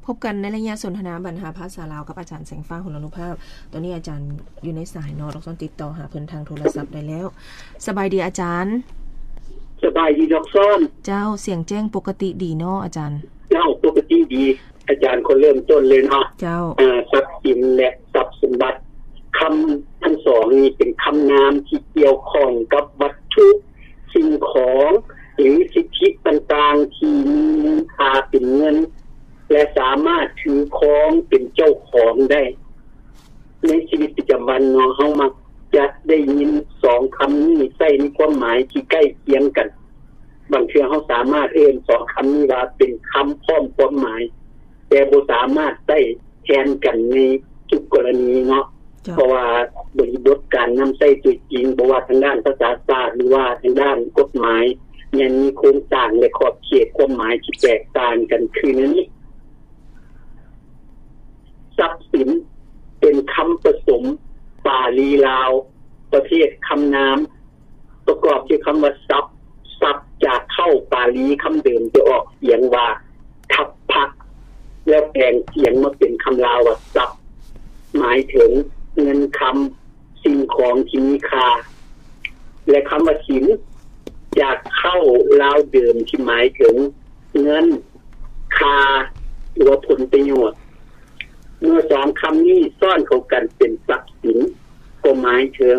ພົບກັນໃນໄລຍະສົນທະນາບັນຫາພາສາລາວກັບອາຈານແສງຟ້າ ຫົນລະນຸພາບ. ຕອນນີ້ອາຈານຢູ່ໃນສາຍເນາະ, ດອກຊອນຕິດຕໍ່ຫາເພິ່ນທາງໂທລະສັບໄດ້ແລ້ວ. ສະບາຍດີອາຈານ. ສະບາຍດີດອກຊອນ. ເຈົ້າ, ສຽງແຈ້ງປົກກະຕິດີເນາະອາຈານ? ເຈົ້າ, ປົກກະຕິດີ. ອາຈານຂໍເລີ່ມຕົ້ນເລີຍເນາະ. ເຈົ້າ. ເອີ, ຊັບສິນ ແລະ ຊັບສົມບັດ. ຄຳທັງສອງນີ້ເປັນຄຳນາມທີ່ກ່ຽວຂ້ອງກັບວັດຖຸ, ສິ່ງຂອງ ຫຼື ສິດທິຕ່າງໆທີ່ມີມູນຄ່າເປັນເງິນ ແລະ ສາມາດຖືຄອງເປັນເຈົ້າຂອງໄດ້. ໃນຊີວິດປະຈຳວັນເນາະ, ເຮົາມັກຈະໄດ້ຍິນສອງຄຳນີ້ໃຊ້ໃນຄວາມໝາຍທີ່ໃກ້ຄຽງກັນ. ບາງເທື່ອເຮົາສາມາດເອີ້ນສອງຄຳນີ້ວ່າເປັນຄຳພ້ອມຄວາມໝາຍ, ແຕ່ບໍ່ສາມາດໃຊ້ແທນກັນໃນທຸກກໍລະນີເນາະ. ເຈົ້າ. ເພາະວ່າບໍລິບົດການນຳໃຊ້ຕົວຈິງ, ບໍ່ວ່າທາງດ້ານພາສາສາດ ຫຼືວ່າທາງດ້ານກົດໝາຍ, ຍັງມີໂຄງສ້າງ ແລະ ຂອບເຂດຄວາມໝາຍທີ່ແຕກຕ່າງກັນຄືແນວນີ້. ຊັບສິນ ເປັນຄຳປະສົມປາລີລາວ ປະເພດຄຳນາມ ປະກອບດ້ວຍຄຳວ່າຊັບ. ຊັບ ຈາກເຄົ້າປາລີຄຳເດີມຈະອອກສຽງວ່າທັບພະ ແລ້ວແປງສຽງມາເປັນຄຳລາວວ່າຊັບ, ໝາຍເຖິງເງິນຄຳ, ສິ່ງຂອງທີ່ມີຄ່າ. ແລະ ຄຳວ່າສິນ ຈາກເຄົ້າລາວເດີມທີ່ໝາຍເຖິງເງິນ, ຄ່າ ຫຼືວ່າຜົນປະໂຫຍດ. ເມື່ອສອງຄຳນີ້ຊ້ອນເຂົ້າກັນເປັນຊັບສິນ ກໍໝາຍເຖິງ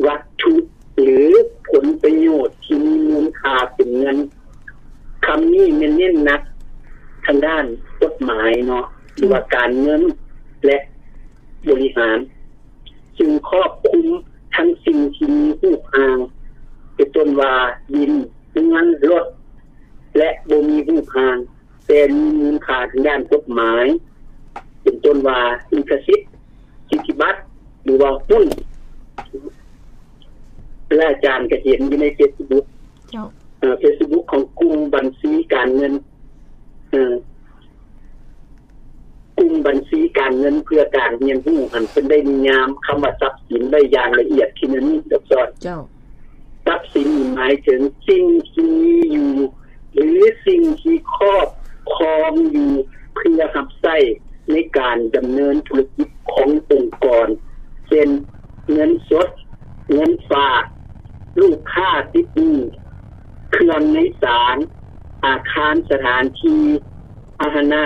ວັດຖຸ ຫຼື ຜົນປະໂຫຍດທີ່ມີມູນຄ່າເປັນເງິນ. ຄຳນີ້ແມ່ນເນັ້ນໜັກທາງດ້ານກົດໝາຍເນາະ ຫຼືວ່າການເງິນ ແລະ ບໍລິຫານ. ຊຶ່ງຄອບຄຸມທັງສິ່ງທີ່ມີຮູບຮ່າງ ເປັນຕົ້ນວ່າດິນ, ເຮືອນ, ລົດ ແລະ ບໍ່ມີຮູບຮ່າງ ແຕ່ມີມູນຄ່າທາງດ້ານກົດໝາຍ ເປັນຕົ້ນວ່າລິຂະສິດ, ສິດທິບັດ ຫຼືວ່າຫຸ້ນ. ແລະ ອາຈານກໍເຫັນຢູ່ໃນເຟສບຸກ ເຈົ້າ. ເອີ ເຟສບຸກຂອງກຸ່ມບັນຊີການເງິນ ເອີ ກຸ່ມບັນຊີການເງິນເພື່ອການຮຽນຮູ້ຫັ້ນ ເພິ່ນໄດ້ນິຍາມຄຳວ່າຊັບສິນໄວ້ຢ່າງລະອຽດທີ່ແນວນີ້ ດອກຊອນ. ເຈົ້າ. ຊັບສິນນີ້ໝາຍເຖິງສິ່ງທີ່ມີຢູ່ ຫຼື ສິ່ງທີ່ຄອບຄອງຢູ່ ເພື່ອຮັບໃຊ້ໃນການດຳເນີນທຸລະກິດຂອງອົງກອນ ເຊັ່ນ ເງິນສົດ, ເງິນຝາກ, ລູກຄ້າຕິດໜີ້, ເຄື່ອງໃນສານ, ອາຄານ, ສະຖານທີ່, ພາຫະນະ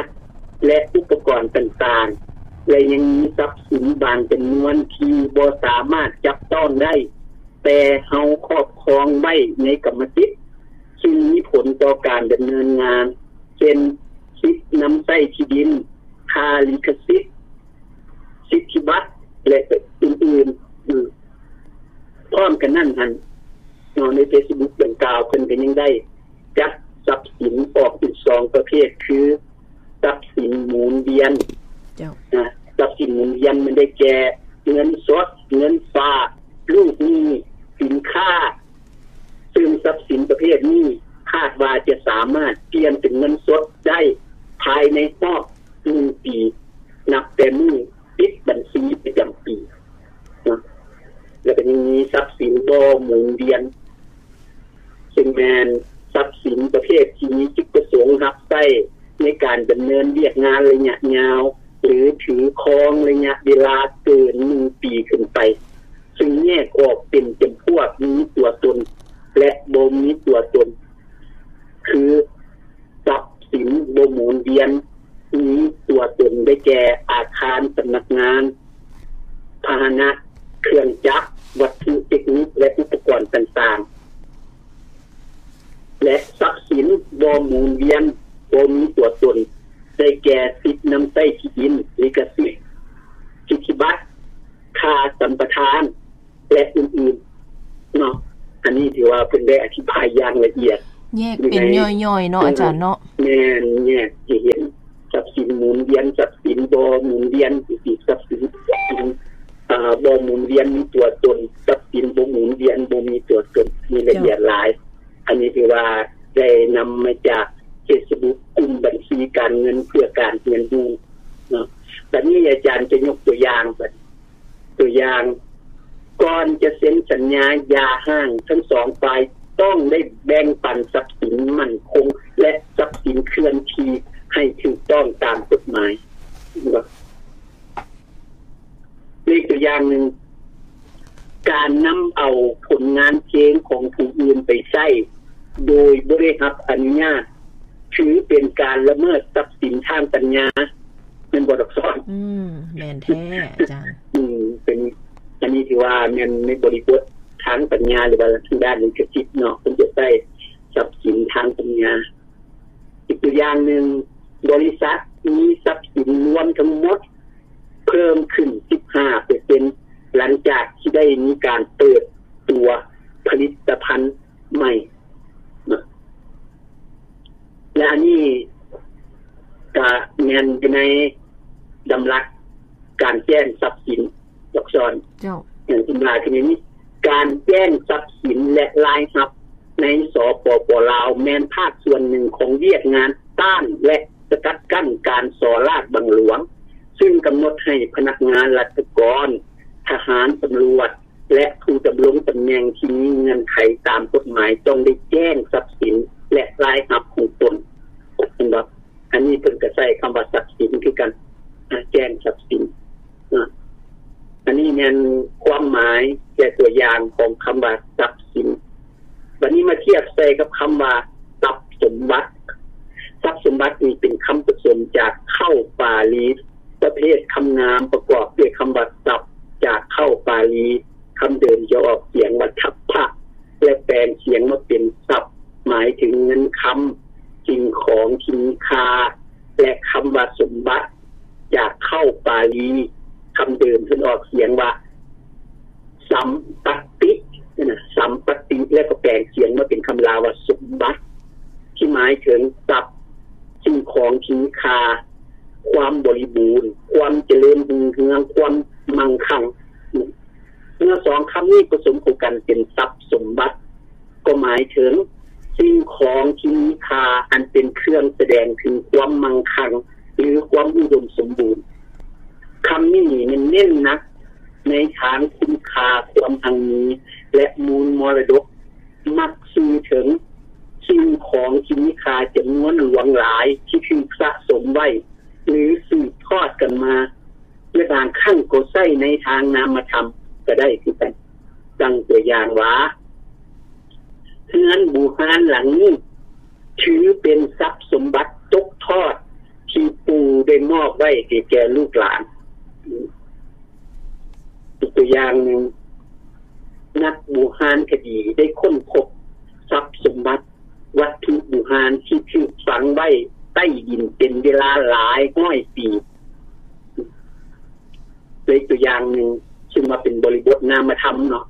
ແລະ ອຸປະກອນຕ່າງໆ ແລະ ຍັງມີຊັບສິນບາງຈຳນວນທີ່ບໍ່ສາມາດຈັບຕ້ອງໄດ້ ແຕ່ເຮົາຄອບຄອງໄວ້ໃນກຳມະສິດ ຊຶ່ງມີຜົນຕໍ່ການດຳເນີນງານ ເຊັ່ນ ສິດນຳໃຊ້ທີ່ດິນ, ຄ່າລິຂະສິດ, ສິດທິບັດ ແລະ ອື່ນໆ. ພ້ອມກັນນັ້ນຫັ້ນເນາະ ໃນເຟສບຸກດັ່ງກ່າວ ເພິ່ນກໍຍັງໄດ້ຈັດຊັບສິນອອກເປັນສອງປະເພດ ຄື ຊັບສິນໝູນວຽນ. ເຈົ້າ. ນະ, ຊັບສິນໝູນວຽນມັນໄດ້ແກ່ເງິນສົດ, ເງິນຝາກ, ລູກໜີ້, ສິນຄ້າ, ຊຶ່ງຊັບສິນປະເພດນີ້ຄາດວ່າຈະສາມາດປ່ຽນເປັນເງິນສົດໄດ້ພາຍໃນຮອບໜຶ່ງປີ ນັບແຕ່ມື້ປິດບັນຊີປະຈຳປີເນາະ. ແລ້ວກໍຍັງມີຊັບສິນບໍ່ໝູນວຽນ ຊຶ່ງແມ່ນຊັບສິນປະເພດທີ່ມີຈຸດປະສົງຮັບໃຊ້ໃນການດຳເນີນວຽກງານໄລຍະຍາວ ຫຼື ຖືຄອງໄລຍະເວລາເກີນໜຶ່ງປີຂຶ້ນໄປ, ຊຶ່ງແຍກອອກເປັນຈຳພວກມີຕົວຕົນ ແລະ ບໍ່ມີຕົວຕົນ ຄື ຊັບສິນບໍ່ໝູນວຽນມີຕົວຕົນໄດ້ແກ່ອາຄານສຳນັກງານ, ພາຫະນະ, ເຄື່ອງຈັກ, ວັດຖຸເຕັກນິກ ແລະ ອຸປະກອນຕ່າງໆ ແລະ ຊັບສິນບໍ່ໝູນວຽນບໍ່ມີຕົວຕົນໄດ້ແກ່ສິດນຳໃຊ້ທີ່ດິນ, ລິຂະສິດ, ສິດທິບັດ, ຄ່າສຳປະທານ ແລະ ອື່ນໆ ເນາະ. ອັນນີ້ຖືວ່າເພິ່ນໄດ້ອະທິບາຍຢ່າງລະອຽດ ແຍກເປັນຍ່ອຍໆເນາະ ອາຈານເນາະ. ແມ່ນ, ແຍກໃຫ້ເຫັນຊັບສິນໝູນວຽນ, ຊັບສິນບໍ່ໝູນວຽນ, ຊັບສິນ ອາ ບໍ່ໝູນວຽນມີຕົວຕົນ, ຊັບສິນບໍ່ໝູນວຽນບໍ່ມີຕົວຕົນ, ມີລະອຽດຫຼາຍ. ອັນນີ້ຖືວ່າໄດ້ນຳມາຈາກເຟສບຸກກຸ່ມບັນຊີການເງິນເພື່ອການຮຽນຮູ້ເນາະ. ບັດນີ້ອາຈານຈະຍົກຕົວຢ່າງ ຕົວຢ່າງ, ກ່ອນຈະເຊັນສັນຍາຢ່າຮ້າງ, ທັງສອງຝ່າຍຕ້ອງໄດ້ແບ່ງປັນຊັບສິນໝັ້ນຄົງ ແລະ ຊັບສິນເຄື່ອນທີ່ໃຫ້ຖືກຕ້ອງຕາມກົດ ປັນການລະເມີດຊັບສິນທາງປັນຍາ ແມ່ນບໍ່ດອກສອນ? ອືມ ແມ່ນແທ້ອາຈານ. ອືມ ເປັນ ອັນນີ້ຖືວ່າແມ່ນໃນບໍລິບົດທາງປັນຍາ ຫຼືວ່າທາງດ້ານລິຂະສິດເນາະ ເພິ່ນຈະໃຊ້ຊັບສິນທາງປັນຍາ. ອີກຕົວຢ່າງໜຶ່ງ, ບໍລິສັດມີຊັບສິນລວມທັງໝົດເພີ່ມຂຶ້ນສິບຫ້າເປີເຊັນ ຫຼັງຈາກທີ່ໄດ້ມີການເປີດຕົວຜະລິດຕະພັນໃໝ່ເນາະ ແລະ ອັນນີ້ກະແມ່ນຢູ່ໃນດຳລັດການແຈ້ງຊັບສິນ ດອກສອນ. ເຈົ້າ. ຢ່າງເຊັ່ນວ່າ ຄືນີ້ ການແຈ້ງຊັບສິນ ແລະ ລາຍຮັບໃນ ສປປ ລາວ ແມ່ນພາກສ່ວນໜຶ່ງຂອງວຽກງານຕ້ານ ແລະ ສະກັດກັ້ນການສໍ້ລາດບັງຫຼວງ, ຊຶ່ງກຳນົດໃຫ້ພະນັກງານລັດຖະກອນ, ທະຫານ, ຕຳຫຼວດ ແລະ ຜູ້ດຳລົງຕຳແໜ່ງທີ່ມີເງື່ອນໄຂຕາມກົດໝາຍ ຕ້ອງໄດ້ແຈ້ງຊັບສິນ ແລະ ລາຍຮັບຂອງຕົນ. ເຫັນບໍ່? ອັນນີ້ເພິ່ນກໍໃຊ້ຄຳວ່າຊັບສິນຄືກັນ, ອາ ແຈ້ງຊັບສິນ. ອາ ອັນນີ້ແມ່ນຄວາມໝາຍ ແລະ ຕົວຢ່າງຂອງຄຳວ່າຊັບສິນ. ບັດນີ້ມາທຽບໃສ່ກັບຄຳວ່າຊັບສົມບັດ. ຊັບສົມບັດນີ້ເປັນຄຳປະສົມຈາກເຄົ້າປາລີ ປະເພດຄຳນາມ ປະກອບດ້ວຍຄຳວ່າຊັບ ຈາກເຄົ້າປາລີ ຄຳເດີມຈະອອກສຽງວ່າທັບພະ ແລະ ແປງສຽງມາເປັນຊັບ ໝາຍເຖິງເງິນຄຳ, ສິ່ງຂອງທີ່ມີຄ່າ ແລະ ຄຳວ່າສົມບັດ ຈາກເຄົ້າປາລີ ຄຳເດີມເພິ່ນອອກສຽງວ່າ ສຳປະຕິ ນະ ສຳປະຕິ ແລ້ວກໍແປງສຽງມາເປັນຄຳລາວວ່າສົມບັດ ທີ່ໝາຍເຖິງຊັບ, ສິ່ງຂອງທີ່ມີຄ່າ, ຄວາມບໍລິບູນ, ຄວາມຈະເລີນຮຸ່ງເຮືອງ, ຄວາມມັ່ງຄັ່ງ. ເມື່ອສອງຄຳນີ້ປະສົມເຂົ້າກັນເປັນຊັບສົມບັດ ກໍໝາຍເຖິງສິ່ງຂອງທີ່ມີຄ່າ ອັນເປັນເຄື່ອງສະແດງເຖິງຄວາມມັ່ງຄັ່ງ ຫຼື ຄວາມອຸດົມສົມບູນ. ຄຳນີ້ແມ່ນເນັ້ນໜັກໃນທາງຄຸນຄ່າ, ຄວາມຮັ່ງມີ ແລະ ມູນມໍລະດົກ, ມັກສື່ເຖິງສິ່ງຂອງທີ່ມີຄ່າຈຳນວນຫຼວງຫຼາຍທີ່ຖືກສະສົມໄວ້ ຫຼື ສືບທອດກັນມາ ແລະ ບາງຄັ້ງກໍໃຊ້ໃນທາງນາມະທຳກໍໄດ້ຄືກັນ. ດັ່ງຕົວຢ່າງວ່າ ເຮືອນບູຮານຫຼັງນີ້ ຖືເປັນຊັບສົມບັດຕົກທອດທີ່ປູ່ໄດ້ມອບໄວ້ໃຫ້ແກ່ລູກຫຼານ. ອີກຕົວຢ່າງໜຶ່ງ, ນັກບູຮານຄະດີໄດ້ຄົ້ນພົບຊັບສົມບັດ ວັດຖຸບູຮານທີ່ຖືກຝັງໄວ້ໃຕ້ດິນເປັນເວລາຫຼາຍຮ້ອຍປີ. ໂດຍຕົວຢ່າງໜຶ່ງ ຊຶ່ງວ່າເປັນບໍລິບົດນາມະທຳເນາະ,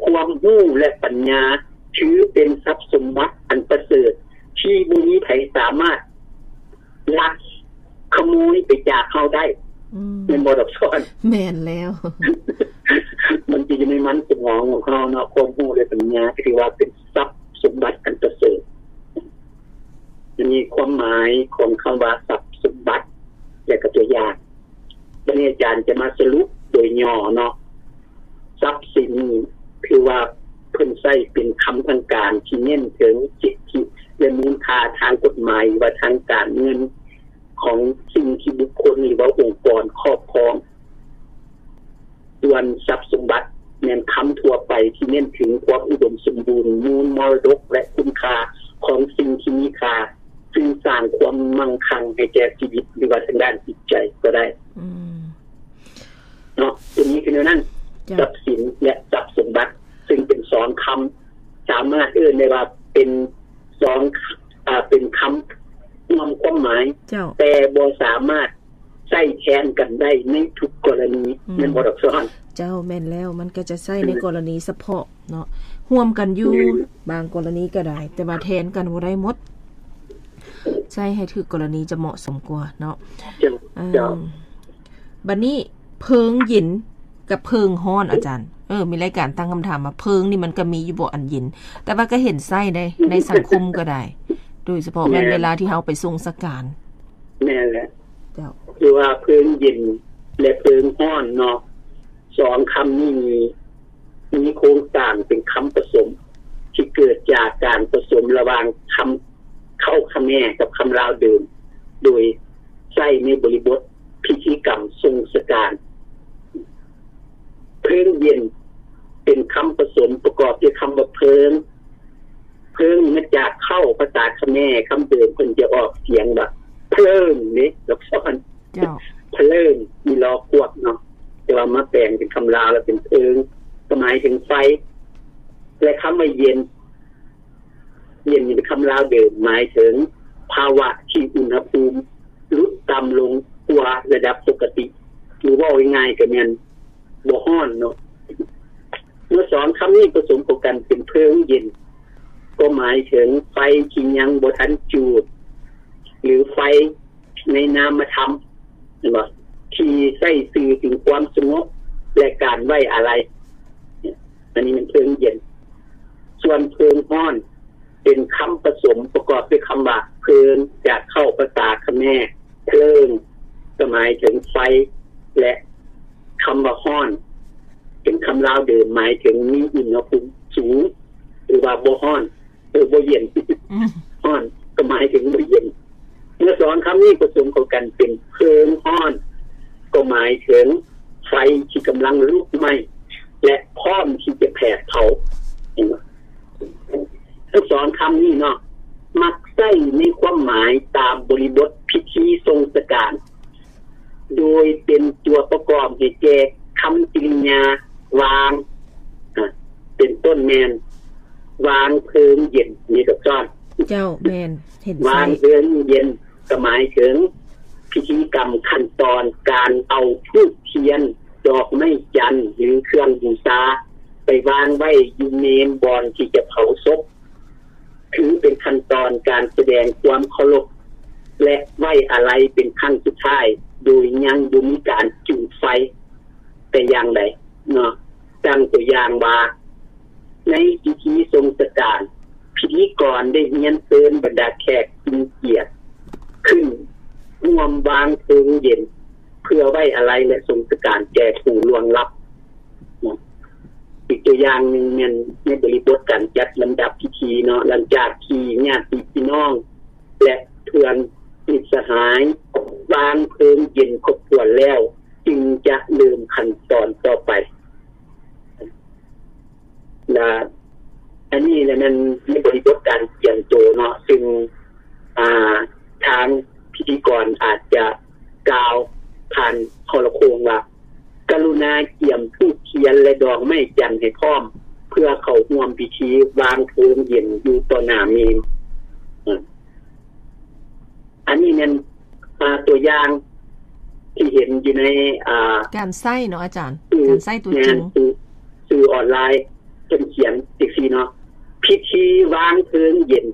ຄວາມຮູ້ ແລະ ປັນຍາ ຖືເປັນຊັບສົມບັດອັນປະເສີດ ທີ່ບໍ່ມີໃຜສາມາດລັກຂະໂມຍໄປຈາກເຮົາໄດ້. ອືມ ແມ່ນບໍ່ດອກສອນ? ແມ່ນແລ້ວ. ມັນຈະຢູ່ໃນມັນສະໝອງຂອງເຮົາເນາະ, ຄວາມຮູ້ ແລະ ປັນຍາ ຖືວ່າເປັນຊັບສົມບັດອັນປະເສີດ. ອັນນີ້ຄວາມໝາຍຂອງຄຳວ່າຊັບສົມບັດ ແລະ ກໍຕົວຢ່າງ. ບັດນີ້ອາຈານຈະມາສະຫຼຸບໂດຍຫຍໍ້ເນາະ. ຊັບສິນນີ້ຖືວ່າເພິ່ນໃຊ້ເປັນຄຳທາງການທີ່ເນັ້ນເຖິງສິດທິ ແລະ ມູນຄ່າທາງກົດໝາຍ ຫຼືວ່າທາງການເງິນ ຂອງສິ່ງທີ່ບຸກຄົນ ຫຼືວ່າອົງກອນຄອບຄອງ. ສ່ວນຊັບສົມບັດແມ່ນຄຳທົ່ວໄປທີ່ເນັ້ນເຖິງຄວາມອຸດົມສົມບູນ, ມູນມໍລະດົກ ແລະ ຄຸນຄ່າຂອງສິ່ງທີ່ມີຄ່າ ຊຶ່ງສ້າງຄວາມມັ່ງຄັ່ງໃຫ້ແກ່ຊີວິດ ຫຼືວ່າທາງດ້ານຈິດໃຈກໍໄດ້. ອືມ ເນາະ ຕົວນີ້ຄືແນວນັ້ນ. ເຈົ້າ. ຊັບສິນ ແລະ ຊັບສົມບັດ ຊຶ່ງເປັນສອງຄຳ ສາມາດເອີ້ນໄດ້ວ່າເປັນສອງ ອາ ເປັນຄຳຮ່ວມຄວາມໝາຍ. ເຈົ້າ. ແຕ່ບໍ່ສາມາດໃຊ້ແທນກັນໄດ້ໃນທຸກກໍລະນີ. ອືມ ແມ່ນບໍ່ດອກສອນ? ເຈົ້າ ແມ່ນແລ້ວ, ມັນກໍຈະໃຊ້ໃນ ອືມ ກໍລະນີສະເພາະເນາະ, ຮ່ວມກັນຢູ່ ອືມ ບາງກໍລະນີກໍໄດ້, ແຕ່ວ່າແທນກັນບໍ່ໄດ້ໝົດ. ໃຊ້ໃຫ້ຖືກກໍລະນີຈະເໝາະສົມກວ່າເນາະ. ເຈົ້າ. ເອີ ເຈົ້າ. ບັດນີ້ເພີງເຢັນກັບເພີງຮ້ອນ ອາຈານ, ເອີ ມີລາຍການຕັ້ງຄຳຖາມວ່າ ເພີງນີ້ມັນກໍມີຢູ່ບໍ່ອັນເຢັນ? ແຕ່ວ່າກໍເຫັນໃຊ້ໃນ ໃນສັງຄົມກໍໄດ້, ໂດຍສະເພາະແມ່ນ ແມ່ນ ເວລາທີ່ເຮົາໄປສົ່ງສະການ. ແມ່ນແຫຼະ. ເຈົ້າ. ຄືວ່າເພີງເຢັນ ແລະ ເພີງຮ້ອນເນາະ, ສອງຄຳນີ້ມີ ມີໂຄງສ້າງເປັນຄຳປະສົມ ທີ່ເກີດຈາກການປະສົມລະຫວ່າງຄຳເຄົ້າຂະແມກັບຄຳລາວເດີມ ໂດຍໃຊ້ໃນບໍລິບົດພິທີກຳສົ່ງສະການ. ເພີງເຢັນ ເປັນຄຳປະສົມປະກອບດ້ວຍຄຳວ່າເພີງ, ເພີງນີ້ມາຈາກເຄົ້າ ພາສາຂະແມ ຄຳເດີມເພິ່ນຈະອອກສຽງວ່າເພີງເດ້ ດອກຊອນ ເຈົ້າ ເພີງ ມີລໍພວກເນາະ ແຕ່ວ່າມາແປງເປັນຄຳລາວແລ້ວເປັນເພີງ ກໍໝາຍເຖິງໄຟ ແລະ ຄຳວ່າເຢັນ ເຢັນນີ້ເປັນຄຳລາວເດີມ ໝາຍເຖິງພາວະທີ່ອຸນຫະພູມຫຼຸດຕ່ຳລົງກວ່າລະດັບປົກກະຕິ ຫຼືເວົ້າງ່າຍໆກໍແມ່ນບໍ່ຮ້ອນເນາະ. ເມື່ອສອງຄຳນີ້ປະສົມເຂົ້າກັນເປັນເພີງເຢັນ ກໍໝາຍເຖິງໄຟທີ່ຍັງບໍ່ທັນຈູດ ຫຼືໄຟ ໃນນາມະທຳ ເຫັນບໍ່? ທີ່ໃຊ້ສື່ເຖິງຄວາມສະຫງົບ ແລະ ການໄວ້ອາໄລ ອັນນີ້ແມ່ນເພີງເຢັນ. ສ່ວນເພີງຮ້ອນ ເປັນຄຳປະສົມປະກອບດ້ວຍຄຳວ່າເພີງ ຈາກເຄົ້າພາສາຂະແມ ເພີງ ກໍໝາຍເຖິງໄຟ ແລະ ຄຳວ່າຮ້ອນ ເປັນຄຳລາວເດີມ ໝາຍເຖິງມີອຸນຫະພູມສູງ ຫຼືວ່າບໍ່ຮ້ອນ ເອີ ບໍ່ເຢັນ ອືມ ຮ້ອນກໍໝາຍເຖິງບໍ່ເຢັນ. ເມື່ອສອງຄຳນີ້ປະສົມເຂົ້າກັນເປັນເພີງຮ້ອນ ກໍໝາຍເຖິງໄຟທີ່ກຳລັງລຸກໄໝ້ ແລະ ພ້ອມທີ່ຈະແຜດເຜົາ. ເຫັນບໍ່? ທັງສອງຄຳນີ້ເນາະ ມັກໃຊ້ໃນຄວາມໝາຍຕາມບໍລິບົດພິທີຊົງສະການ ໂດຍເປັນຕົວປະກອບໃຫ້ແກ່ຄຳກິລິຍາວາງ ອາ ເປັນຕົ້ນແມ່ນ ວາງເພີງເຢັນ ນີ້ດອກຊອນ. ເຈົ້າ ແມ່ນ ເຫັນໃສ່ ວາງເພີງເຢັນ ກໍໝາຍເຖິງພິທີກຳຂັ້ນຕອນການເອົາທູບທຽນ ດອກໄມ້ຈັນ ຫຼື ເຄື່ອງບູຊາ ໄປວາງໄວ້ຢູ່ເມນບ່ອນທີ່ຈະເຜົາສົບ. ຖືເປັນຂັ້ນຕອນການສະແດງຄວາມເຄົາລົບ ແລະ ໄວ້ອາໄລເປັນຄັ້ງສຸດທ້າຍ ໂດຍຍັງບໍ່ມີການຈູດໄຟແຕ່ຢ່າງໃດເນາະ. ດັ່ງຕົວຢ່າງວ່າ ໃນພິທີຊົງສະການ ພິທີກອນໄດ້ຮຽນເຊີນບັນດາແຂກຜູ້ມີກຽດຂຶ້ນຮ່ວມວາງເພີງເຢັນ ເພື່ອໄວ້ອາໄລ ແລະ ຊົງສະການແກ່ຜູ້ລ່ວງລັບ. ເນາະ ອີກຕົວຢ່າງໜຶ່ງແມ່ນໃນບໍລິບົດການຈັດລຳດັບພິທີເນາະ ຫຼັງຈາກທີ່ຍາດຕິພີ່ນ້ອງ ແລະ ເພື່ອນມິດສະຫາຍ ວາງເພີງເຢັນຄົບຖ້ວນແລ້ວ ຈຶ່ງຈະເລີ່ມຂັ້ນຕອນຕໍ່ໄປ. ລະ ອັນນີ້ລະແມ່ນໃນບໍລິບົດການກຽມໂຕເນາະ ຊຶ່ງ ອ່າ ທາງພິທີກອນອາດຈະກ່າວຜ່ານໂທລະໂຄ່ງວ່າ ກະລຸນາກຽມທູບທຽນ ແລະ ດອກໄມ້ຈັນໃຫ້ພ້ອມ ເພື່ອເຂົ້າຮ່ວມພິທີວາງເພີງເຢັນຢູ່ຕໍ່ໜ້າເມນ. ອັນນີ້ແມ່ນ ອ່າ ຕົວຢ່າງທີ່ເຫັນຢູ່ໃນ ອ່າ ການໃຊ້ເນາະອາຈານ ການໃຊ້ຕົວຈິງ ສື່ ສື່ອອນລາຍ ເພິ່ນຂຽນຈັ່ງຊີ້ເນາະ ພິທີວາງເພີງເຢັນ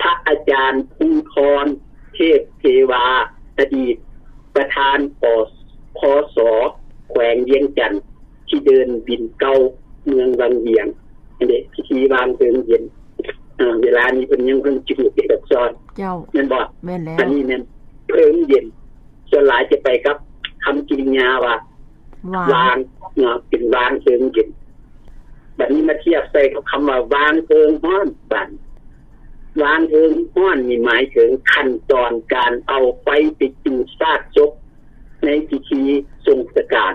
ພະອາຈານພູທອນ ເທບເທວາ ອະດີດປະທານ ປ ພສ ແຂວງວຽງຈັນ ທີ່ເດີ່ນບິນເກົ່າເມືອງວັງວຽງ ອັນນີ້ພິທີວາງເພີງເຢັນ. ເວລານີ້ເພິ່ນຍັງເພິ່ງຈູດເດດອກຊອນ ເຈົ້າ ແມ່ນບໍ່? ແມ່ນແລ້ວ ອັນນີ້ແມ່ນເພີງເຢັນ ສ່ວນຫຼາຍຈະໄປກັບຄຳກິລິຍາວ່າ ວາງ ວາງເນາະ ເປັນວາງເພີງເຢັນ. ບັດນີ້ມາທຽບໃສ່ກັບຄຳວ່າ ວາງເພີງຮ້ອນ ບັດ ວາງເພີງຮ້ອນນີ້ໝາຍເຖິງຂັ້ນຕອນການເອົາໄຟໄປຈູດຊາກສົບ ໃນພິທີຊົງສະການ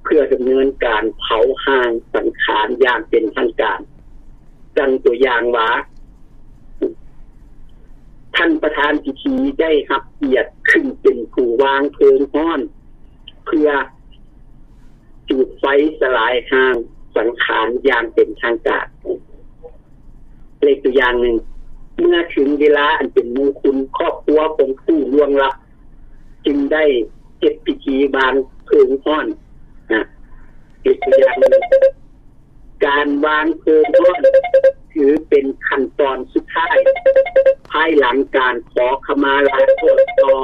ເພື່ອດຳເນີນການເຜົາຮ່າງສັງຂານຢ່າງເປັນທາງການ. ດັ່ງຕົວຢ່າງວ່າ ທ່ານປະທານພິທີໄດ້ຮັບກຽດຂຶ້ນເປັນຜູ້ວາງເພີງຮ້ອນ ເພື່ອຈູດໄຟສະຫຼາຍຮ່າງສັງຂານຢ່າງເປັນທາງການ. ເລກຕົວຢ່າງໜຶ່ງ ເມື່ອເຖິງເວລາອັນເປັນມຸງຄຸນ ຄອບຄົວຂອງຜູ້ລ່ວງລັບ ຈຶ່ງໄດ້ເຮັດພິທີວາງເພີງຮ້ອນ ນະ ເປັນຕົວຢ່າງໜຶ່ງ. ການວາງເພີງຮ້ອນ ຖືເປັນຂັ້ນຕອນສຸດທ້າຍ ພາຍຫຼັງການຂໍຂະມາລາໂທດຕໍ່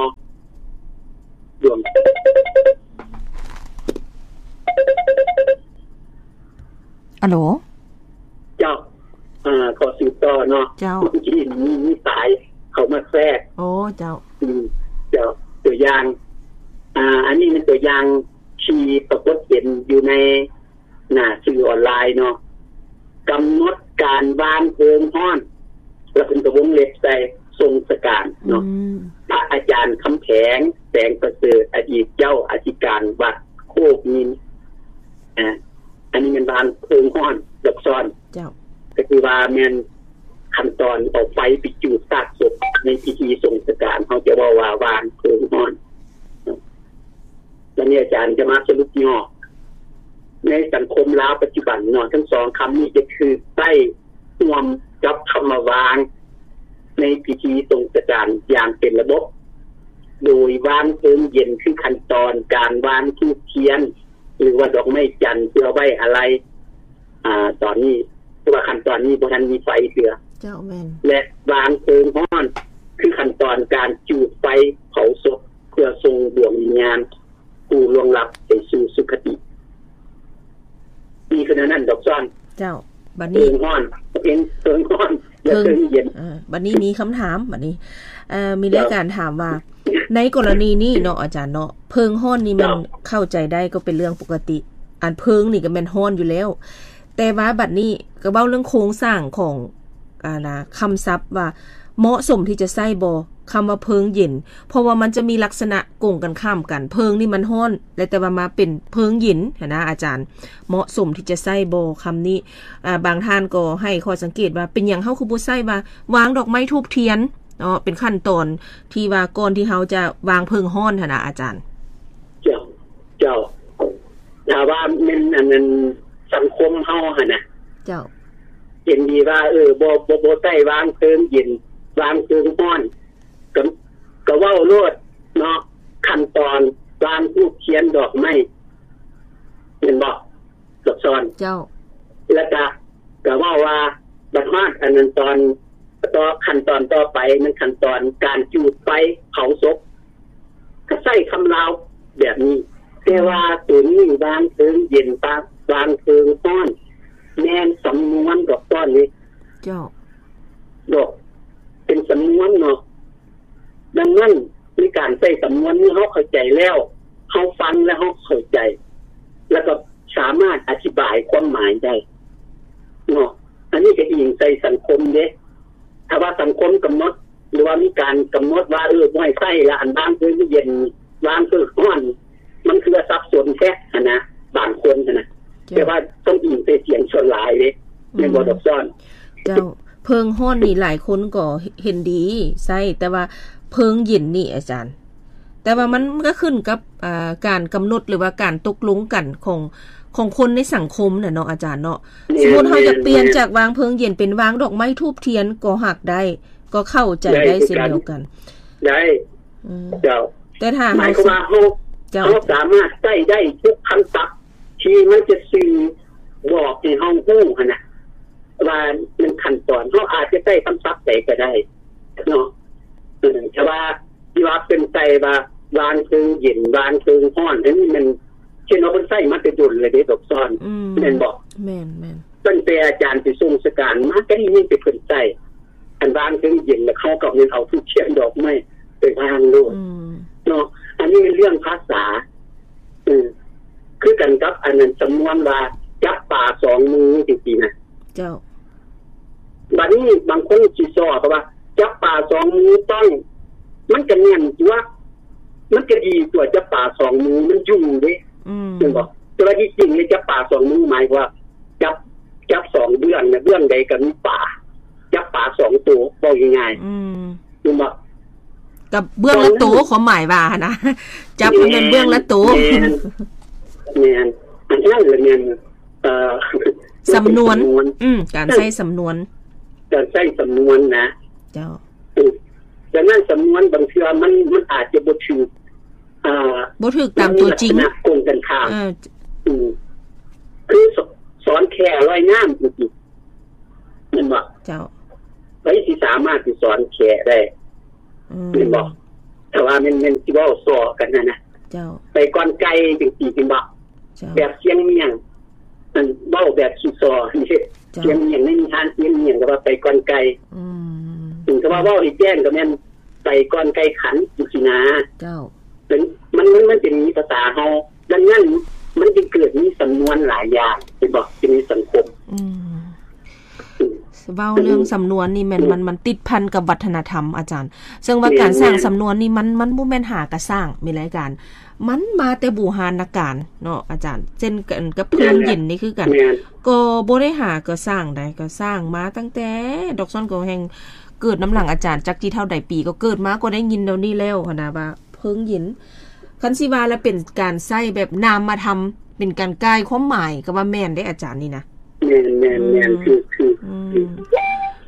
ດວງ. ອາໂຫຼ ເຈົ້າ ເອີ ຂໍສືບຕໍ່ເນາະ ເຈົ້າ ເມື່ອກີ້ມີ ມີສາຍເຂົ້າມາແຊກ ໂອ້ ເຈົ້າ ອືມ ເຈົ້າ ຕົວຢ່າງ ອ່າ ອັນນີ້ແມ່ນຕົວຢ່າງທີ່ປາກົດເຫັນຢູ່ໃນໜ້າສື່ອອນລາຍເນາະ ກຳນົດການວາງເພີງຮ້ອນ ແລ້ວເພິ່ນກໍວົງເລັບໃສ່ ຊົງສະການເນາະ ອືມ ພະອາຈານຄຳແພງ ແສງປະເສີດ ອະດີດເຈົ້າອະທິການວັດໂຄກຍິນ ອາ ອັນນີ້ແມ່ນວາງເພີງຮ້ອນ ດອກຊອນ ເຈົ້າ ກໍຄືວ່າແມ່ນ ຂັ້ນຕອນເອົາໄຟໄປຈູດຊາກສົບໃນພິທີສົ່ງສະການ ເຮົາຈະເວົ້າວ່າວາງເພີງຮ້ອນ. ແລ້ວນີ້ອາຈານຈະມາສະຫຼຸບຫຍໍ້ ໃນສັງຄົມລາວປັດຈຸບັນເນາະ ທັງສອງຄຳນີ້ຈະຖືກໃຊ້ຮ່ວມກັບຄຳວ່າວາງ ໃນພິທີສົ່ງສະການຢ່າງເປັນລະບົບ ໂດຍວາງເພີງເຢັນ ຄືຂັ້ນຕອນການວາງທູບທຽນ ຫຼືວ່າດອກໄມ້ຈັນເພື່ອໄວ້ອາໄລ. ອາ ຕອນນີ້ ແຕ່ວ່າຂັ້ນຕອນນີ້ບໍ່ທັນມີໄຟເທື່ອ. ເຈົ້າ ແມ່ນ. ແລະ ວາງເພີງຮ້ອນ ຄືຂັ້ນຕອນການຈູດໄຟເຜົາສົບ ເພື່ອສົ່ງດວງວິນຍານຜູ້ລ່ວງລັບໄປສູ່ສຸຄະຕິ. ມີຂະໜາດນັ້ນດອກຊ້ອນ. ເຈົ້າ ບັດນີ້ ເພີງຮ້ອນ ເພິງ ເພີງຮ້ອນ ແລະ ເພີງ ເພິງເຢັນ. ເອີ ບັດນີ້ມີຄຳຖາມ ບັດນີ້ ເອີ ມີ ເຈົ້າ ລາຍການຖາມວ່າ ໃນກໍລະນີນີ້ເນາະອາຈານເນາະ ເພີງຮ້ອນນີ້ແມ່ນ ເຈົ້າ ເຂົ້າໃຈໄດ້ ກໍເປັນເລື່ອງປົກກະຕິ ອັນເພີງນີ້ກໍແມ່ນຮ້ອນຢູ່ແລ້ວ ແຕ່ວ່າບັດນີ້ກໍເວົ້າເລື່ອງໂຄງສ້າງຂອງ ອ່າ ນະ ຄຳສັບວ່າເໝາະສົມທີ່ຈະໃຊ້ບໍ່ ຄຳວ່າເພີງເຢັນ ເພາະວ່າມັນຈະມີລັກສະນະກົງກັນຂ້າມກັນ ເພີງນີ້ມັນຮ້ອນ ແລະ ແຕ່ວ່າມາເປັນເພີງເຢັນຫັ້ນນະອາຈານ ເໝາະສົມທີ່ຈະໃຊ້ບໍ່ຄຳນີ້? ອ່າ ບາງທ່ານກໍໃຫ້ຂໍ້ສັງເກດວ່າ ເປັນຫຍັງເຮົາຄືບໍ່ໃຊ້ວ່າວາງດອກໄມ້ທູບທຽນເນາະ ເປັນຂັ້ນຕອນທີ່ວ່າກ່ອນທີ່ເຮົາຈະວາງເພີງຮ້ອນຫັ້ນນະອາຈານ? ເຈົ້າ ເຈົ້າ ຖ້າວ່າແມ່ນອັນນັ້ນສັງຄົມເຮົາຫັ້ນນະ ເຈົ້າ ເຫັນດີວ່າ ເອີ ບໍ່ ບໍ່ ບໍ່ໃຊ້ວາງເພີງເຢັນ ວາງເພີງຮ້ອນ ກໍ ກໍເວົ້າໂລດເນາະ ຂັ້ນຕອນວາງທູບທຽນດອກໄມ້ ແມ່ນບໍ່ ດອກຊ້ອນ? ເຈົ້າ ແລ້ວກະ ກະເວົ້າວ່າບັດຮອດອັນນັ້ນຕອນ ຕໍ່ ຂັ້ນຕອນຕໍ່ໄປ ແມ່ນຂັ້ນຕອນການຈູດໄຟເຜົາສົບ ກໍໃຊ້ຄຳລາວແບບນີ້ ແຕ່ວ່າ ອືມ ໂຕນີ້ວາງເພີງເຢັນ ປະ ວາງເພີງຮ້ອນ ແມ່ນສຳນວນດອກຊ້ອນນີ້. ເຈົ້າ ດອກ ເປັນສຳນວນເນາະ ດັ່ງນັ້ນ ໃນການໃຊ້ສຳນວນນີ້ ເຮົາເຂົ້າໃຈແລ້ວ ເຮົາຟັງແລ້ວເຮົາເຂົ້າໃຈ ແລ້ວກໍສາມາດອະທິບາຍຄວາມໝາຍໄດ້ເນາະ. ອັນນີ້ກໍອີງໃສ່ສັງຄົມເດ້ ຖ້າວ່າສັງຄົມກຳນົດ ຫຼືວ່າມີການກຳນົດວ່າ ເອີ ບໍ່ໃຫ້ໃຊ້ລະ ອັນບາງເພິ່ນເຢັນ ບາງເພິ່ນຮ້ອນ ມັນຄືວ່າສັບສົນແທ້ຫັ້ນນະ ບາງຄົນຫັ້ນນະ. ເຈົ້າ ແຕ່ວ່າຕ້ອງອີງໃສ່ສຽງສ່ວນຫຼາຍເດ້ ອືມ ແມ່ນບໍ່ດອກຊ້ອນ? ເຈົ້າ ເພີງຮ້ອນນີ້ຫຼາຍຄົນກໍເຫັນດີໃຊ້ ແຕ່ວ່າເພີງເຢັນນີ້ອາຈານ ແຕ່ວ່າມັນ ມັນກໍຂຶ້ນກັບ ອ່າ ການກຳນົດ ຫຼືວ່າການຕົກລົງກັນຂອງ ຂອງຄົນໃນສັງຄົມນະເນາະອາຈານເນາະ. ແມ່ນ ສົມມຸດເຮົາຈະປ່ຽນ ແມ່ນ ຈາກວາງເພີງເຢັນເປັນວາງດອກໄມ້ທູບທຽນກໍຫາກໄດ້ ກໍເຂົ້າໃຈໄດ້ ໄດ້ຄືກັນ ເຊັ່ນດຽວກັນ. ໄດ້ ອືມ ເຈົ້າ ແຕ່ຖ້າ ໝາຍຄວາມວ່າເຮົາ ເຈົ້າ ເຮົາສາມາດໃຊ້ໄດ້ທຸກຄຳສັບທີ່ມັນຈະສື່ບອກໃຫ້ເຮົາຮູ້ຫັ້ນນະ ວ່າມັນຂັ້ນຕອນ ເຮົາອາດຈະໃຊ້ຄຳສັບໃດກໍໄດ້ເນາະ. ເອີ ແຕ່ວ່າທີ່ວ່າເພິ່ນໃສ່ວ່າວາງເທິງເຢັນ ວາງເທິງຮ້ອນ ອັນນີ້ມັນ ເຊັ່ນວ່າເພິ່ນໃຊ້ມາແຕ່ດົນແລ້ວເດ້ດອກຊ້ອນ ອືມ ແມ່ນບໍ່? ແມ່ນໆ ຕັ້ງແຕ່ອາຈານໄປຊົງສະການມາ ກໍໄດ້ຍິນແຕ່ເພິ່ນໃຊ້ ອັນວາງເທິງເຢັນ ແລ້ວເຂົາກໍແມ່ນເອົາທູບທຽນດອກໄມ້ໄປວາງໂລດ ອືມ ເນາະ. ອັນນີ້ແມ່ນເລື່ອງພາສາ ເອີ ຄືກັນກັບອັນນັ້ນ ສຳນວນວ່າຈັບປາສອງມື ຈັ່ງຊີ້ນະ. ເຈົ້າ ບາດນີ້ບາງຄົນຊິຊອກວ່າ ຈັບປາສອງມືຕ້ອງ ມັນກໍແມ່ນຕົວະ ມັນກໍດີຕົວະ ຈັບປາສອງມືມັນຢູ່ເດ້ ອືມ ແມ່ນບໍ່? ແຕ່ວ່າທີ່ຈິງນີ້ ຈັບປາສອງມືໝາຍວ່າ ຈັບ ຈັບສອງເບື້ອງນະ ເບື້ອງໃດກໍມີປາ ຈັບປາສອງໂຕ ເວົ້າງ່າຍໆ ອືມ ແມ່ນບໍ່? ກັບເບື້ອງລະໂຕ ຄວາມໝາຍວ່າຫັ້ນນະ ຈັບໃຫ້ແມ່ນເບື້ອງລະໂຕ ແມ່ນ ແມ່ນ ອັນນັ້ນລະແມ່ນ ເອີ ສຳນວນ ສຳນວນ ອືມ ການໃຊ້ສຳນວນ ການໃຊ້ສຳນວນນະ ເຈົ້າ ອືມ ດັ່ງນັ້ນສຳນວນບາງເທື່ອມັນ ມັນອາດຈະບໍ່ຖືກ ເອີ ບໍ່ຖືກຕາມຕົວຈິງ ມັນມີລັກສະນະກົງກັນຂ້າມ ເອີ ອືມ ຄືສອນແຂ້ລອຍນ້ຳຈັ່ງຊີ້ ແມ່ນບໍ່? ເຈົ້າ ໃຜຊິສາມາດຊິສອນແຂ້ໄດ້? ອືມ ແມ່ນບໍ່? ຖ້າວ່າແມ່ນ ແມ່ນຊິເວົ້າສໍ້ກັນຫັ້ນນະ ເຈົ້າ ໄປກ່ອນໄກ່ຈັ່ງຊີ້ ແມ່ນບໍ່? ເຈົ້າ ແບບຊຽງມ້ຽງ ອັນເວົ້າແບບຂີ້ສໍ້ ເຈົ້າ ຊຽງມ້ຽງ ໃນນິທານຊຽງມ້ຽງກໍວ່າໄປກ່ອນໄກ່ ອືມ ເອີ ຖ້າວ່າເວົ້າໃຫ້ແຈ້ງກໍແມ່ນໄປກ່ອນໄກ່ຂັນ ຈັ່ງຊີ້ນະ ເຈົ້າ ເປັນ ມັນ ມັນ ມັນເປັນພາສາເຮົາ ດັ່ງນັ້ນມັນຈຶ່ງເກີດມີສຳນວນຫຼາຍຢ່າງ ເຫັນບໍ່? ຢູ່ໃນສັງຄົມ ອືມ ອືມ ເວົ້າເລື່ອງສຳນວນນີ້ແມ່ນ ອືມ ມັນ ມັນຕິດພັນກັບວັດທະນະທຳ ອາຈານ. ເຊິ່ງວ່າ ແມ່ນ ການສ້າງ ແມ່ນ ສຳນວນນີ້ ມັນ ມັນບໍ່ແມ່ນຫາກະສ້າງ ມີລາຍການ ມັນມາແຕ່ບູຮານນະການເນາະ ອາຈານ. ເຊັ່ນກັນກັບເພິ່ງເຢັນນີ້ຄືກັນ ແມ່ນ ກໍບໍ່ໄດ້ຫາກະສ້າງໃດ ກໍສ້າງມາຕັ້ງແຕ່ດອກຊອນກໍແຮ່ງເກີດນຳຫຼັງອາຈານ ຈັກຊິເທົ່າໃດປີ ກໍເກີດມາກໍໄດ້ຍິນແນວນີ້ແລ້ວຫັ້ນນະ ວ່າເພິ່ງເຢັນ. ຄັນຊິວ່າລະເປັນການໃຊ້ແບບນາມມະທຳ ເປັນການກ່າຍຄວາມໝາຍ ກໍວ່າແມ່ນເດ້ອາຈານນີ້ນະ. ແມ່ນໆໆ ອືມ ຖືກໆ ອືມ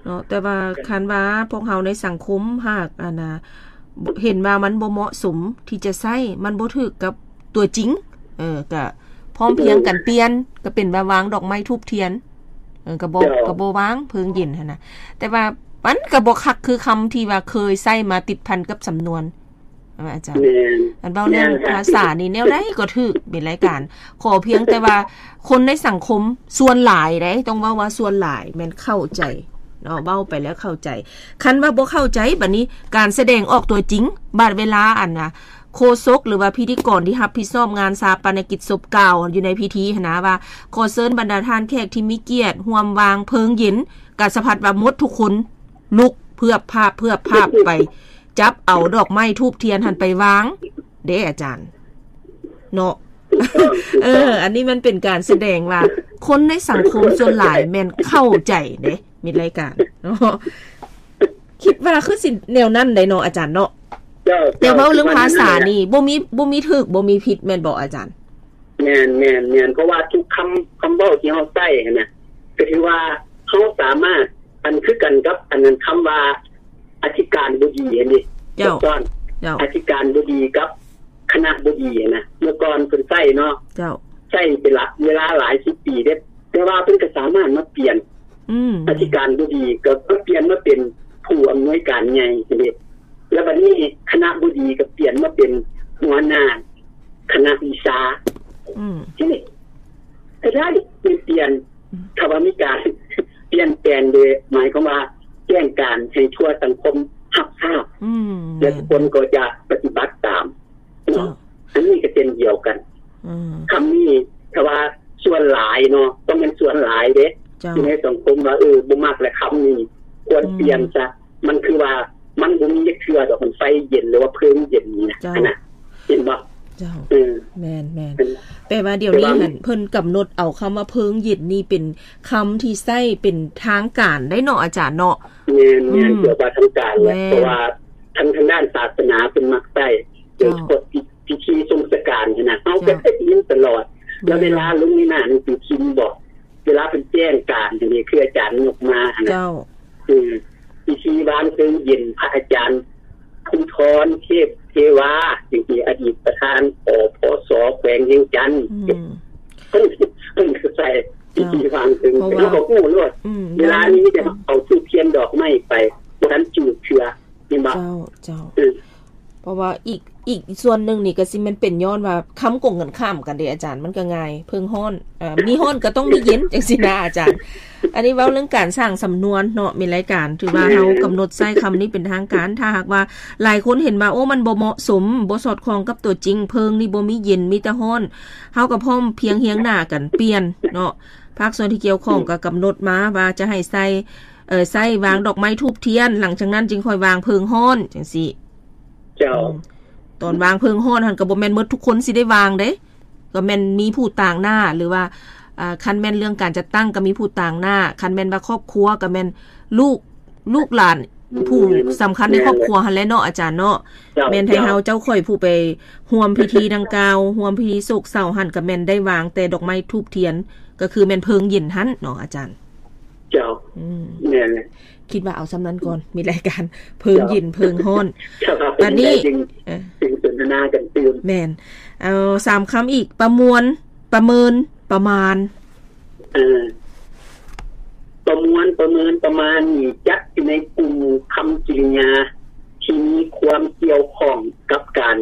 ເນາະ ແຕ່ວ່າຄັນວ່າພວກເຮົາໃນສັງຄົມຫາກ ອັນນະ ເຫັນວ່າມັນບໍ່ເໝາະສົມທີ່ຈະໃຊ້ ມັນບໍ່ຖືກກັບຕົວຈິງ ເອີ ກະພ້ອມພຽງກັນປ່ຽນ ກະເປັນວ່າວາງດອກໄມ້ທູບທຽນ ເອີ ກະບໍ່ ເຈົ້າ ກະບໍ່ວາງເພິ່ງເຢັນຫັ້ນນະ. ແຕ່ວ່າມັນກະບໍ່ຄັກຄືຄຳທີ່ວ່າເຄີຍໃຊ້ມາຕິດພັນກັບສຳນວນ. ອາ ອາຈານ ແມ່ນ ອັນເວົ້າເລື່ອງ ແມ່ນ ພາສານີ້ແນວໃດກໍຖືກ ເປັນລາຍການ ຂໍພຽງແຕ່ວ່າຄົນໃນສັງຄົມສ່ວນຫຼາຍເດ້ ຕ້ອງເວົ້າວ່າສ່ວນຫຼາຍແມ່ນເຂົ້າໃຈເນາະ ເວົ້າໄປແລ້ວເຂົ້າໃຈ. ຄັນວ່າບໍ່ເຂົ້າໃຈ ບັດນີ້ການສະແດງອອກຕົວຈິງ ບາດເວລາອັນນະ ໂຄສົກ ຫຼືວ່າພິທີກອນທີ່ຮັບຜິດຊອບງານຊາປະນະກິດສົບກ່າວຢູ່ໃນພິທີຫັ້ນນະ ວ່າ ຂໍເຊີນບັນດາທ່ານແຂກທີ່ມີກຽດຮ່ວມວາງເພີງເຢັນ ກະສະພັດວ່າໝົດທຸກຄົນລຸກເພືອບພາບເພືອບພາບໄປ ຈັບເອົາດອກໄມ້ທູບທຽນຫັ້ນໄປວາງເດ້ອາຈານເນາະ. ເອີ ອັນນີ້ມັນເປັນການສະແດງວ່າຄົນໃນສັງຄົມສ່ວນຫຼາຍແມ່ນເຂົ້າໃຈເດ້ ມິດລາຍການເນາະ. ຄິດວ່າຄືຊິແນວນັ້ນໄດ໋ເນາະອາຈານເນາະ. ເຈົ້າ ແຕ່ເວົ້າເລື່ອງພາສານີ້ ເຈົ້າ ບໍ່ມີ ບໍ່ມີຖືກ ບໍ່ມີຜິດແມ່ນບໍ່ອາຈານ? ແມ່ນໆໆ ເພາະວ່າທຸກຄຳ ຄຳເວົ້າທີ່ເຮົາໃຊ້ຫັ້ນນະ ກໍຖືວ່າເຮົາສາມາດ ອັນຄືກັນກັບອັນນັ້ນ ຄຳວ່າອະທິການບໍ່ດີຫັ້ນເດ ເຈົ້າ ເຈົ້າຕ້ອນ ເຈົ້າ ອະທິການບໍ່ດີກັບຄະນະບໍ່ດີຫັ້ນນະ ເມື່ອກ່ອນເພິ່ນໃຊ້ເນາະ ເຈົ້າ ໃຊ້ເປັນລະເວລາຫຼາຍສິບປີເດ້ ແຕ່ວ່າເພິ່ນກໍສາມາດມາປ່ຽນ ອືມ ອະທິການບໍ່ດີກໍມາປ່ຽນມາເປັນຜູ້ອຳນວຍການໃຫຍ່ຫັ້ນເດ ແລ້ວບັດນີ້ຄະນະບໍ່ດີກໍປ່ຽນມາເປັນຫົວໜ້າຄະນະວິຊາ ອືມ ທີນີ້ກໍໄດ້ປ່ຽນ ອືມ ຖ້າວ່າມີການປ່ຽນແປງໂດຍ ໝາຍຄວາມວ່າແຈ້ງການໃຫ້ທົ່ວສັງຄົມຮັບຊາບ ອືມ ແລ້ວທຸກຄົນກໍຈະປະຕິບັດຕາມເນາະ ເຈົ້າ ອັນນີ້ກໍເຊັ່ນດຽວກັນ ອືມ ຄຳນີ້ຖ້າວ່າສ່ວນຫຼາຍເນາະ ຕ້ອງແມ່ນສ່ວນຫຼາຍເດ້ ເຈົ້າ ຢູ່ໃນສັງຄົມວ່າ ເອີ ບໍ່ມັກແຫຼະຄຳນີ້ ຄວນ ອືມ ປ່ຽນຊະ ມັນຄືວ່າມັນບໍ່ມີຈັກເທື່ອດອກ ມັນໄຟເຢັນ ຫຼືວ່າເພີງເຢັນນີ້ນະ ເຈົ້າ ຫັ້ນນະ ເຫັນບໍ່? ເຈົ້າ ເອີ ແມ່ນໆ ແປວ່າດຽວນີ້ຫັ້ນ ເພິ່ນກຳນົດເອົາຄຳວ່າເພີງເຢັນນີ້ເປັນຄຳທີ່ໃຊ້ເປັນທາງການໄດ໋ເນາະອາຈານເນາະ. ແມ່ນໆ ອືມ ເພື່ອວ່າທາງການແຫຼະ ແມ່ນ ເພາະວ່າທາງ ທາງດ້ານສາສະໜາເພິ່ນມັກໃຊ້ ໂດຍສະເພາະ ເຈົ້າ ພິ ພິທີຊົງຊະການຫັ້ນນະ ເຮົາກໍ ເຈົ້າ ໄດ້ຍິນຕະຫຼອດ ແລ້ວເວລາ ແມ່ນ ລົງໃນໜ້າໜັງສືພິມບໍ ເວລາເພິ່ນແຈ້ງການ ອັນນີ້ຄືອາຈານຍົກມາຫັ້ນນະ ເຈົ້າ ຄືພິທີວາງເພີງເຢັນພະອາຈານພູທອນ ເທບເທວາ ທີ່ເປັນອະດີດປະທານ ອພສ ແຂວງວຽງຈັນ ອືມ ເພິ່ນ ເພິ່ນກໍໃສ່ພິທີວາງເພີງ ເຈົ້າ ເພາະວ່າ ເຮົາກໍຮູ້ໂລດ ອືມ ເວລານີ້ມີແຕ່ເອົາທູບທຽນດອກໄມ້ໄປ ບໍ່ທັນຈູດເທື່ອ ແມ່ນບໍ່? ເຈົ້າ ເຈົ້າ ອືມ ເພາະວ່າອີກ ອີກສ່ວນໜຶ່ງນີ້ກໍຊິແມ່ນເປັນຍ້ອນວ່າຄຳກົງກັນຂ້າມກັນເດ້ອາຈານ ມັນກໍງ່າຍ ເພິ່ງຮ້ອນ ເອີ ມີຮ້ອນກໍຕ້ອງມີເຢັນ ຈັ່ງຊີ້ນະອາຈານ. ອັນນີ້ເວົ້າເລື່ອງການສ້າງສຳນວນເນາະ ມີລາຍການ ຖືວ່າເຮົາກຳນົດໃຊ້ຄຳນີ້ເປັນທາງການ. ຖ້າຫາກວ່າຫຼາຍຄົນເຫັນວ່າ ໂອ້ ມັນບໍ່ເໝາະສົມ ບໍ່ສອດຄ່ອງກັບຕົວຈິງ ເພີງນີ້ບໍ່ມີເຢັນ ມີແຕ່ຮ້ອນ ເຮົາກໍພ້ອມພຽງຮຽງໜ້າກັນປ່ຽນເນາະ ພາກສ່ວນທີ່ກ່ຽວຂ້ອງ ອືມ ກໍກຳນົດມາວ່າຈະໃຫ້ໃສ່ ເອີ ໃຊ້ວາງດອກໄມ້ທູບທຽນ ຫຼັງຈາກນັ້ນຈຶ່ງຄ່ອຍວາງເພີງຮ້ອນ ຈັ່ງຊີ້. ເຈົ້າ ອືມ ຕອນວາງເພີງຮ້ອນຫັ້ນກໍບໍ່ແມ່ນໝົດທຸກຄົນຊິໄດ້ວາງເດ້ ກໍແມ່ນມີຜູ້ຕາງໜ້າ ຫຼືວ່າ ອ່າ ຄັນແມ່ນເລື່ອງການຈັດຕັ້ງກໍມີຜູ້ຕາງໜ້າ ຄັນແມ່ນວ່າຄອບຄົວກໍແມ່ນລູກ ລູກຫຼານ ອືມ ຜູ້ສຳຄັນໃນຄອບຄົວຫັ້ນແຫຼະເນາະ ອາຈານເນາະ. ເຈົ້າ ແມ່ນໃຫ້ເຮົາເຈົ້າຂ້ອຍຜູ້ໄປຮ່ວມພິທີດັ່ງກ່າວ ຮ່ວມພິທີໂສກເສົ້າຫັ້ນ ກໍແມ່ນໄດ້ວາງແຕ່ດອກໄມ້ທູບທຽນ ກໍຄືແມ່ນເພີງເຢັນຫັ້ນເນາະອາຈານ. ເຈົ້າ ອືມ ແມ່ນແຫຼະ ຄິດວ່າເອົາສ່ຳນັ້ນກ່ອນ ມີລາຍການເພີງເຢັນ ເຈົ້າ ເພີງຮ້ອນ ເຈົ້າ ບັດນີ້ ຈຶ່ງ ເອີ ຈຶ່ງສົນທະນາກັນຕື່ມ. ແມ່ນ ເອົາສາມຄຳອີກ ປະມວນ ປະເມີນ ປະມານ. ເອີ ປະມວນ ປະເມີນ ປະມານນີ້ ຈັດຢູ່ໃນກຸ່ມຄຳກິລິຍາທີ່ມີຄວາມກ່ຽວຂ້ອງກັບການ